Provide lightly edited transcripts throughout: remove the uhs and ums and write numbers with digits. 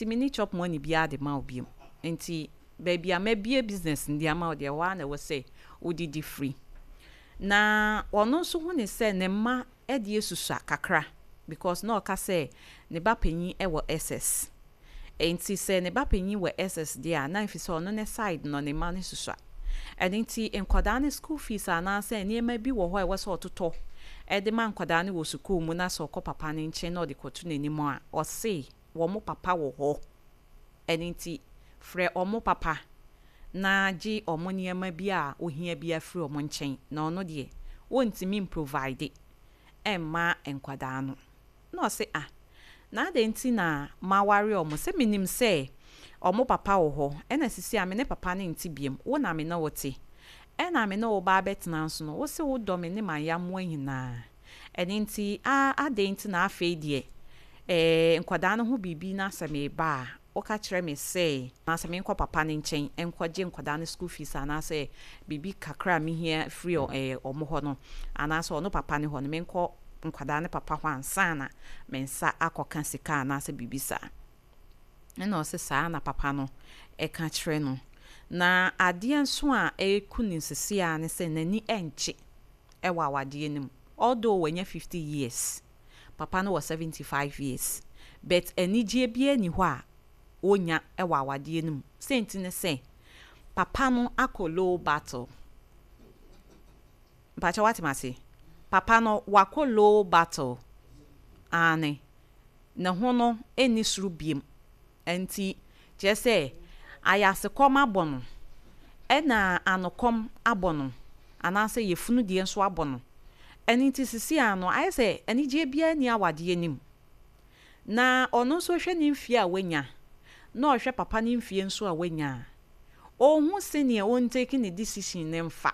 Nti menni chop money biara de ma wo biom. Nti baabi a mabue business no de ama wo deɛ, ɛhɔ ara na ɛwɔ sɛ wodidi firi. Na ɔno nso hu ne sɛ ne mma deɛ susua kakra because na ɔka sɛ ne ba panyin wɔ SS. Nti sɛ ne ba panyin wɔ SS deɛ a, na ɛfiri sɛ ɔno ne side no ne mma no susua. Ɛno nti nkwadaa no school fees anaasɛ nneɛma bi wɔ hɔ a ɛwɔ sɛ ɔtotɔ de ma nkwadaa no wɔ sukuu mu na sɛ ɔkɔ papa no nkyɛn na ɔde kɔto n'anim a, ɔse wɔn papa wɔ hɔ. Ɛno nti frɛ wɔn papa na gye wɔn nneɛma bi a wohia biara firi wɔn nkyɛn na ɔno deɛ wɔntumi mprovide mma nkwadaa no. Na ɔse ah, na adɛn nti na maware wɔn sɛ menim sɛ wɔn papa wɔ hɔ ɛna sisi a me ne papa no nte biom, wo na me ne wo te. Ɛna me ne wo ba abɛtena nso no, wo se wodɔ me ne m'ayammoa nyinaa. Ɛno nti ah adɛn nti na afei deɛ eh, nkwadaa no ho biribi na sɛ meba a, woka kyerɛ me sɛ anaasɛ menkɔ papa no nkyɛn nkɔgye nkwadaa no school fees anaasɛ biribi kakra a mehia firi eh, ɔmo hɔ no anaasɛ ɔno papa no hɔ no menkɔ nkwadaa no papa hɔ ansa na me nsa akɔka sika anaasɛ biribi saa. Ɛna ɔse saa na papa no ɛka kyerɛ no. Na adeɛ nso a ɛku ne nsisi a ne sɛ n'ani ɛnkye ɛwɔ awadeɛ no mu. Although wanya 50 years, papa no wɔ 75 years, but anigyeɛ biara ni hɔ a ɔnya ɛwɔ awadeɛ no mu. Sɛnti ne sɛ papa no akɔ low battery. Mpakyɛ wate ase? Papa no wakɔ low battery. Aane. Ne ho no ɛnni soro biem. Nti kyerɛ sɛ ayasekɔm abɔ no ɛna anokɔm abɔ no anaasɛ yɛfunu deɛ nso abɔ no. Ɛno nti sisi ano ayɛ sɛ anigyeɛ biara nni awadeɛ no mu. Na ɔno nso hwɛ ne mfie a wanya na ɔhwɛ papa ne mfie nso a wanya a, ɔnhu sɛnea ɔntake ne decision ne mfa.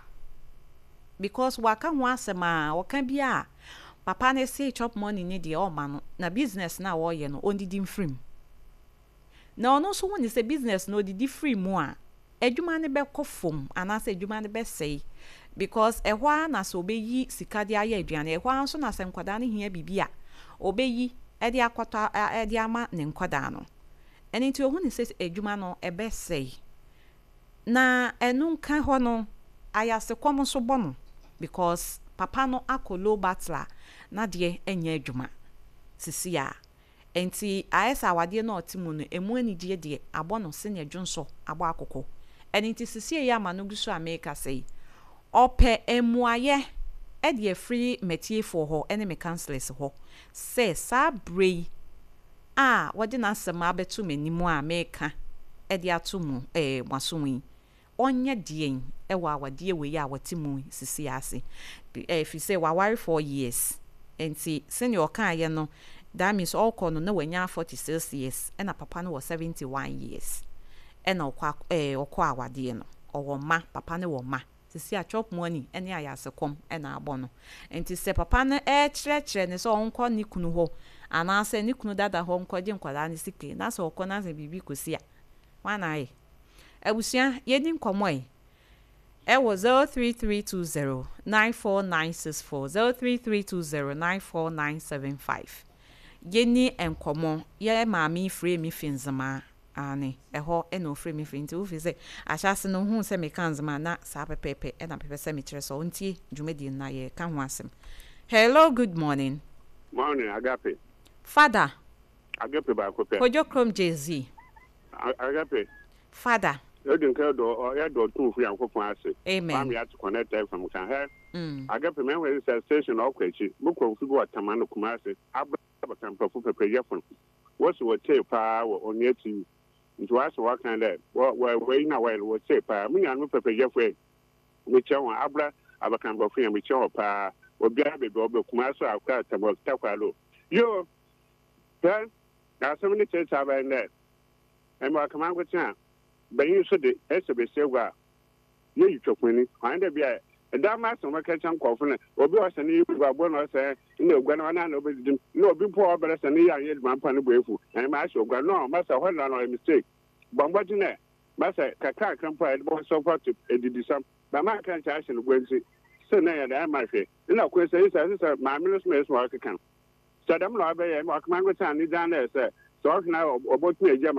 Because waka ho asɛm a ɔka bi a papa ne se chop money ne deɛ ɔma no na business na ɔreyɛ no ɔndidi mfiri mu. Na ɔno nso hu ne sɛ business no ɔdidi firi mu a, adwuma no bɛkɔ fam anaasɛ adwuma no bɛsɛe because ɛhɔ ara na sɛ ɔbɛyi sika de ayɛ aduane, ɛhɔ ara nso na sɛ nkwadaa no hia biribi a ɔbɛyi de akɔtɔ de ama ne nkwadaa no. Ɛno nti ɔhu ne sɛ adwuma no ɛbɛsɛe. Na ɛno nka hɔ no, ayasekɔm nso bɔ no because papa no akɔ low battery a n'adeɛ nyɛ adwuma sisi a. Nti ayɛ sɛ awadeɛ no a ɔte mu no, emu anigyeɛ deɛ abɔ no sɛnea dwonsɔ abɔ akokɔ. Ɛno nti sisi yi ama no gu so a meka sɛ yi, ɔpɛ mmuayɛ de afiri m'atiefoɔ hɔ ne me counsellors hɔ sɛ saa berɛ yi a wɔde n'asɛm abɛto m'anim a meka de ato mu mo asom yi, ɔnyɛ deɛn wɔ awadeɛ wei a wɔte mu sisi ase. Ɛfiri sɛ waware 4 years. Nti sɛnea ɔkaeɛ no, that means ɔrekɔ no na wanya 46 years ɛna papa no wɔ 71 years ɛna ɔkɔ awadeɛ no. Ɔwɔ mma, papa no wɔ mma. Sisi a chop money ne ayasekɔm ɛna abɔ no. Nti sɛ papa no ɛrekyerɛkyerɛ ne sɛ ɔnkɔ ne kunu hɔ anaasɛ ne kunu dada hɔ nkɔgye nkwadaa no sika na sɛ ɔkɔ na sɛ biribi kɔsi a, hwan na ayɛ? Abusua, yɛni nkɔmmɔ yi ɛwɔ 03320 94964, 03320 94975. Yɛni nkɔmmɔ. Yɛ maame frɛ mi fi Nzemaa ane ɛhɔ ɛna ofiri mi firi nti wofi sɛ ahyɛase no ohun sɛ meka Nzemaa na saa pɛpɛɛpɛ ɛna pɛpɛ sɛ mekyerɛ sɛ ɔntie dwumadie no na yɛka ho asɛm. Hello, good morning. Morning, Agape. Father. Agape baako pɛ. Kojo Krom Jay-Z. Agape. Father. Yɛdi nka dɔ yɛdɔ tumfo Yankopɔn ase. Amen. Kwame ate connect FM kan hɛ. Agape mɛhwɛ sɛ station ɔkɔ akyi. Mokɔ mfi bi wɔ Tama no Kumase. Abra bɛkampafo pɛpɛyɛfo no. Wɔsi wɔtee paa wɔ Onua TV. Nti wɔasɛ wɔka dɛ wɔ wɔ wɔyi na wɔyɛ no wɔtee paa. Mo nuanom pɛpɛyɛfo yi mekyia wɔn abra abɛkampafo yɛn mekyia wɔ paa. Obiara beebi a ɔbɛ Kumase, Akra, Tama, Takoradi. Yo! Hwɛ, asɛm no kyerɛkyerɛ aban dɛ ɛmɛ ɔkama nkote a banyin so de ɛsɛ besia gua a yɛyi twɛkoni ɔne dɛ bia ɛda ma asɛm wɔka kyerɛ nkɔɔfo no obi a ɔsɛ ne yɛ gua bɔ na ɔsɛ na ogua no ɔna na ɔbɛdidi na obi mpo a ɔbɛrɛ sɛ ne yɛ anyɛ adwuma mpa no bɔ efu ɛmɛ ahyɛ ogua no masa hɔ na ɔyɛ mistake bɔ mbɔgye nɛ masa kakra kakra mpo a yɛde bɔ support edidisam bama nka nkyɛn ahyɛ no gua nti sɛ na yɛde ɛma hwɛ ɛna kwan sɛ sɛ sɛ maame no so ma ɛso ɔkeka sɛ dɛm na ɔbɛyɛ ma ɔkama nkote a ne dan na ɛsɛ sɛ. Sɛ ɔhwɛ na ɔbɔtumi agya ma.